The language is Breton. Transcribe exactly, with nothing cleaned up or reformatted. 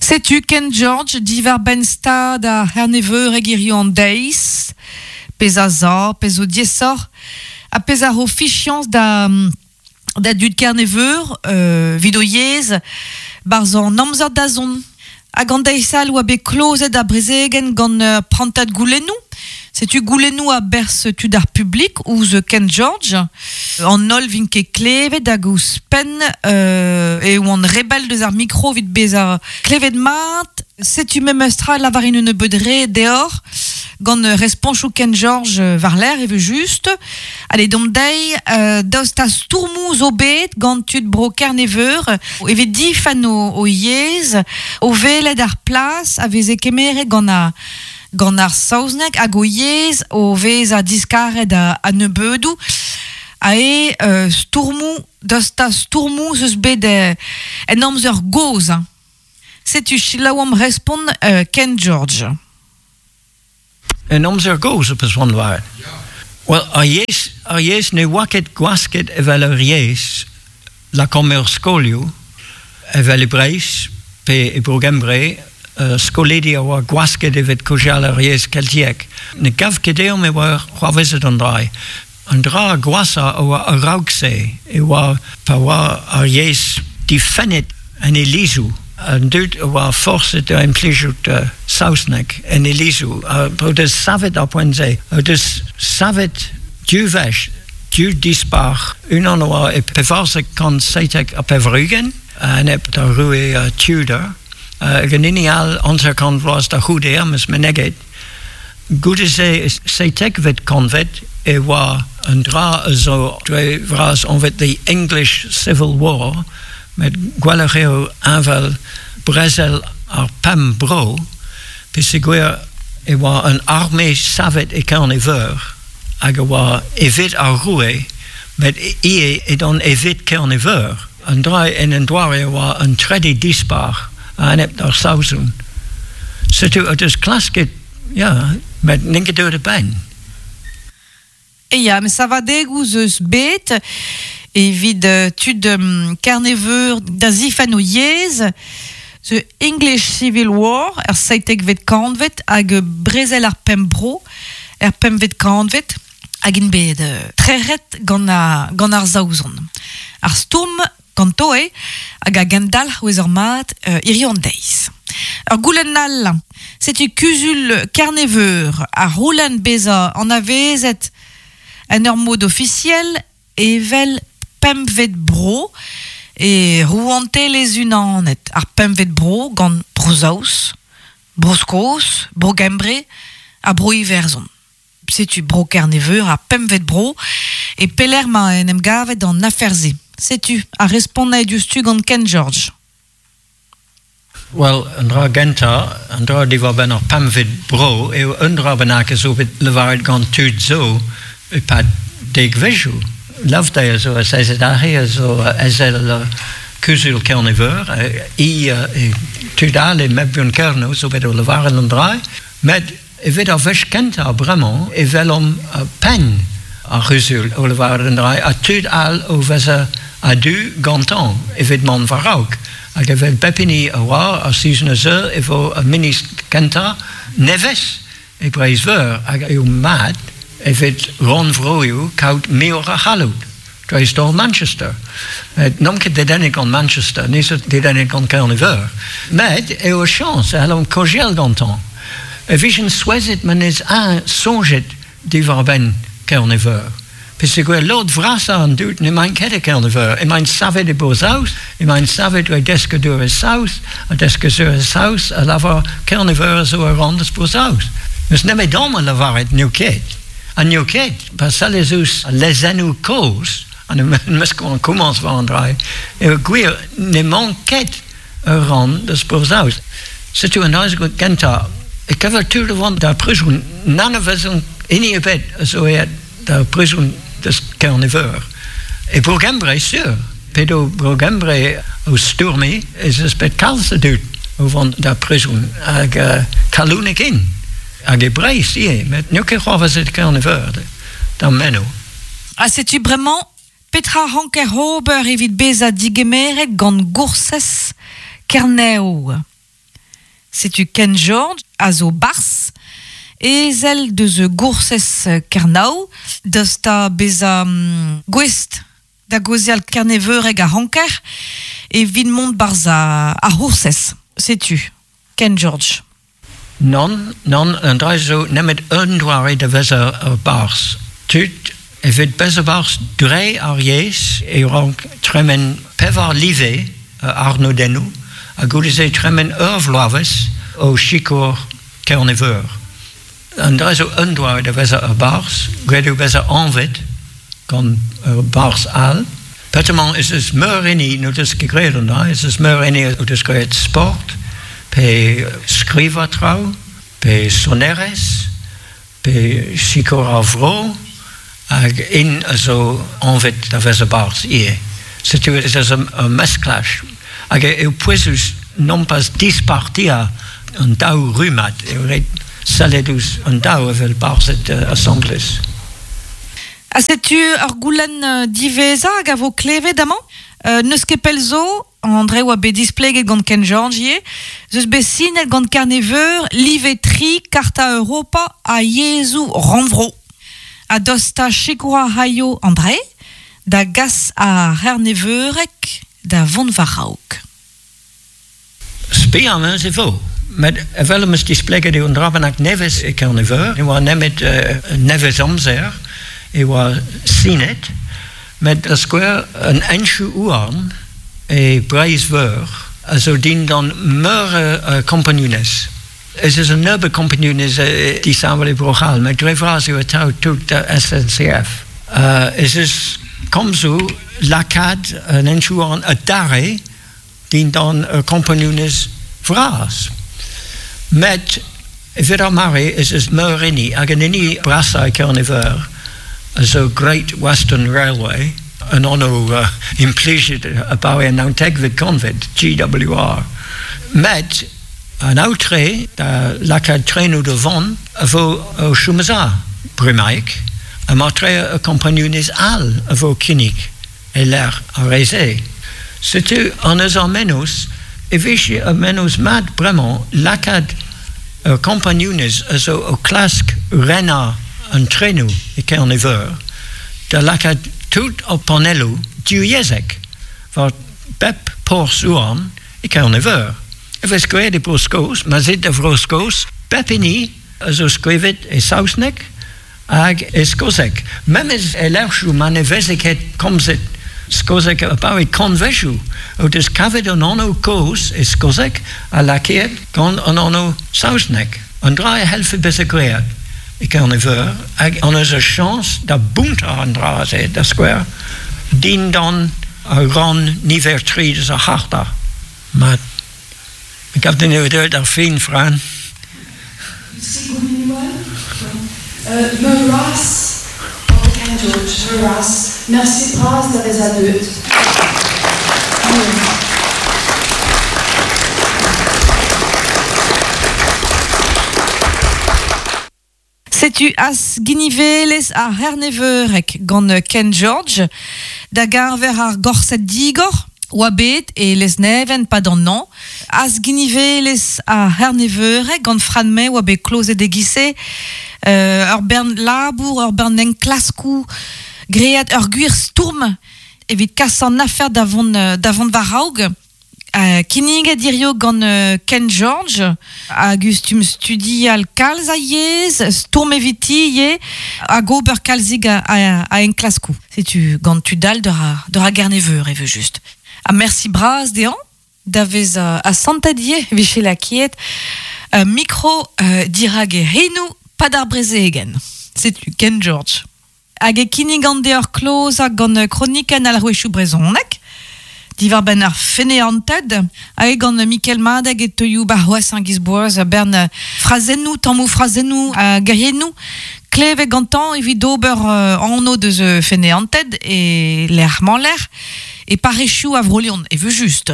Setu Ken George diwar benn stad ar C'herneveureg hiziv an deiz, pezh a za, pezh zo diaesoc'h, ha pezh a ro fiziañs da, da dud Kerneveur, euh, 'vit o yezh, 'barzh an amzer da zont. Hag an deiz all oa bet klozet ar brezegenn gant ur prantad goulennoù. Setu goulennoù a-berzh tud ar publik ouzh Ken George. An holl 'vint ket klevet hag ouzhpenn euh, e oant re bell deus ar mikro 'vit bezañ klevet mat. Setu memestra lavarin un nebeud re deoc'h gant responchoù Ken George war-lerc'h evel-just. Allez, domp dezhi, euh, daoust ha stourmoù zo bet gant tud bro Kerneveur evit difenn o, o yezh, o welet ar plas a veze kemeret gant ar gant ar saozneg hag o yezh o vezañ diskaret a, a nebeudoù a e euh, stourmoù, daoust ha stourmoù 'z eus bet euh, en amzer gozh. Hein. Setu selaouomp respont euh, Ken George. En amzer gozh op eus war. Well, ar yezh, ar yezh ne oa ket gwasket evel ur yezh lakaomp er skolioù, evel e Breizh, pe e Bro-Gembre, uh, skolidi a oa gwasket evit kaozeal ar yezh keltiek. Ne gav ket deomp e oa c'hoarvezet an dra. An dra gwashañ a oa a-raok-se e oa pa oa ar yezh difennet en ilizoù. An dud a oa forset da implijout uh, saozneg en ilizoù. Uh, o deus savet ar poent-se. O deus savet div wech, div dispac'h. Unan a oa e pevarzek kant seitek ha pevar-ugent, a-enep d'ar roue uh, Tudor. Uh, hag an hini all hanter-kant vloaz da c'houde am eus meneget. Goude-se e seitekvet kantved e oa un dra a zo dre vras anvet the English Civil War, met gwelloc'h eo envel brezel ar pemp bro, peogwir e oa un arme savet e Kerne-Veur, hag a oa evit ar roue, met ivez edont evit Kerne-Veur. An dra en un doare a oa un trede dispac'h a-enep d'ar Saozon. Setu o deus klasket, ya, met n'int ket deuet a-benn. E ya, met savadegoù 'z eus bet evit euh, tud um, Kerneveur da zifenn o yezh, The English Civil War, er seitekvet kantved, hag brezel ar pemp bro, er pempvet kantved, hag int bet euh, trec'het gant ar, gant ar Saozon. Ar stourm ganto eo, hag a gendalc'h ouezer mat euh, hiziv an deiz. Ur goulenn all, setu kuzul Kerneveur a c'houlenn bezañ anavezet en ur mod ofisiel evel pempvet bro e Rouantelezh Unanet. Ar pempvet bro gant Bro-Saoz, Bro-Skos, Bro-Gembre ha Bro-Iwerzhon. Setu bro Kerneveur ar pempvet bro e pelec'h 'ma en em gavet an afer-se. Setu ar respont diouzhtu gant Ken George. Well, an dra gentañ, an dra diwar-benn ar pempvet bro, eo un dra bennak a zo bet lavaret gant tud zo e-pad dekvezioù. Loveday a zo azezet aze a zo ezel uh, kuzul Kerneveur, i uh, e tud all e Mebyon Kernow zo bet o lavaret an dra, met evit ar wech kentañ bremañ e welomp uh, penn ar c'huzul o lavaret an dra, ha tud all o vezañ a-du gantañ evit mont war-raok. Hag evel pep hini a oar ar sizhun a zeu e vo ar ministr kentañ nevez e Breizh-Veur hag eo mat evit rannvroioù kaout muioc'h a c'halloud. Dreist-holl Manchester. Met n'omp ket dedennet gant Manchester, ni zo dedennet gant Kerne-Veur. Met eo ur chañs e c'hellomp kaozeal gantañ. E vijen souezhet ma 'nez eñ soñjet diwar-benn Kerne-Veur. Peogwir lod vrasañ an dud n'emaint ket e Kerne-Veur. Emaint savet e Bro-Saoz, emaint savet dre deskadurezh saoz, ha deskadurezh saoz a lavar Kerne-Veur a zo ur rann eus Bro-Saoz. N'eus nemedomp a lavaret n'eo ket. Ha n'eo ket, pa sellez ouzh al lezennoù kozh, ha 'meus ket komañs war an dra, eo gwir n'emañ ket ur rann eus Bro-Saoz. Setu an dra gentañ, e kever tud o vont d'ar prizon, n'anavezan hini ebet a zo aet d'ar prizon deus Kerne-Veur. E Bro-Gembre, sur. P'edo Bro-Gembre o stourmiñ, ez eus bet kalz a dud o vont d'ar prizon hag uh, kalonek int. Hag e Breizh ivez, met n'eo ket c'hoarvezet e Kerne-Veur d'am meno. Ha setu bremañ, petra ranker ober evit bezañ digemeret gant Goursez Kernev. Setu Ken George a zo bars, ezel deus goursez Kernaou, deus ta beza um, gouest da gozial Kerneveureg a ranker, e vin mont barz a, a c'hoursez. Setu Ken George. Non, non, an dra zo nemet un doare da veza ur barz. Tud, evit beza barz dre ar yezh e rank tremen pevar live uh, arnodennoù, ha goude-se tremen ur vloavezh o sikour Kerneveur. An dra zo un doare da veza ur barz, graet eo beza anvet gant ur barz all. Petamant ez eus meur hini n'o deus ket graet an dra, ez eus meur hini o deus graet sport, pe skrivañ traoù, pe sonerezh, pe sikour ar vro, hag int a zo anvet da vezañ barzh ivez. Setu ez eus ur, ur mesklaj. Hag eo pouezus nompas dispartiañ an daou rummad, eo ret sellet ouzh an daou evel barzhed uh, asambles. Ha setu ur goulenn uh, diwezhañ hag a vo klevet amañ. Euh, n'eus ket pell zo, André oa bet displeget gant Ken George ivez, zeus bet sinet gant Kerneveur, live tri, Karta Europa ha yezhoù rannvro. Ha dosta sikour a raio André, da gas ar C'herneveureg da vont war-raok. Spi am eus e vo. Met evel am eus displeget eo an dra bennak nevez e Kerneveur, e oa nemet uh, nevez amzer, e oa sinet, met da skouer an henchoù houarn e Breizh-Veur a zo dindan meur a kompagnunezh. Ez eus un nebeud kompagnunezh uh, disheñvel e Bro-C'hall, met dre vras eo atav tout da S N C F. Uh, ez eus komzoù lakaat an henchoù houarn adarre dindan ur kompagnunezh vras. Met evit ar mare ez eus meur hini, hag an hini brasañ e Kerneveur a zo Great Western Railway, an anv uh, implijet abaoe an naontekvet kantved, G W R. Met an aotre da lakaat trenoù da vont a vo o chom a-za, bremaik, ha mar-tre ur kompagnunezh all a vo kinnig e lec'h ar re-se. Setu an eus ar mennozh, e vije ur mennozh mat bremañ lakaat ur kompagnunezh a zo o klask renañ an trenoù e Kerneveur, da lakaat tout ar panelloù divyezhek war bep porzh houarn e Kerneveur. E vez graet e Bro-Skos, ma zit da Vro-Skos, bep hini a zo skrivet e saozneg hag e skoseg. Memes e lec'hioù ma ne veze ket komzet skoseg abaoe kantvedoù, o deus kavet an anv kozh e skoseg ha lakaet gant an anv saozneg. An dra e c'hellfe bezañ graet e Kerneveur, hag an eus ur chañs da bountañ an dra-se, da skouer, dindan ar rann niver tri deus ar c'harta. Mat, me gav din eo deuet ar fin, Fran. Euh, Meuras, Ken George, Meuras, merci bras da vezañ deuet. Setu as ginivelez ar C'herneveureg gant Ken George, da geñver ar gorsedd digor, oa bet e Lesneven pad an an. As ginivelez ar C'herneveureg gant Fran May oa bet klozet e gise, euh, ur bern labour, ur bern enklaskoù, great ur gwir stourm evit kas an afer da vont, da vont war-raok. Euh, kinniget dirio gant euh, Ken George, a gustum studial kalz a yezh, stourm eviti ivez, hag ober kalzig a, a, a enklaskoù. Setu gant tud all d'ur a, d'ur a Gerneveur, eve just. Ha merci bras dezhañ, da vez a, a santad ivez, vije lakiet, euh, mikro, euh, dirag e renou pad ar brezegen. Setu Ken George. Hag e kinnig an deoc'h klozañ gant kronikenn al rouechoù brezhoneg, diwar benn ar feneanted, hag gant Mikel Madeg e teuioù barroaz an gizboaz a bern frazennoù, tammoù frazennoù ha geriennoù, klevet gantañ evit ober, euh, anv deus feneanted e lec'h-mañ-lec'h, e parrezioù a Vro-Leon, e veu just.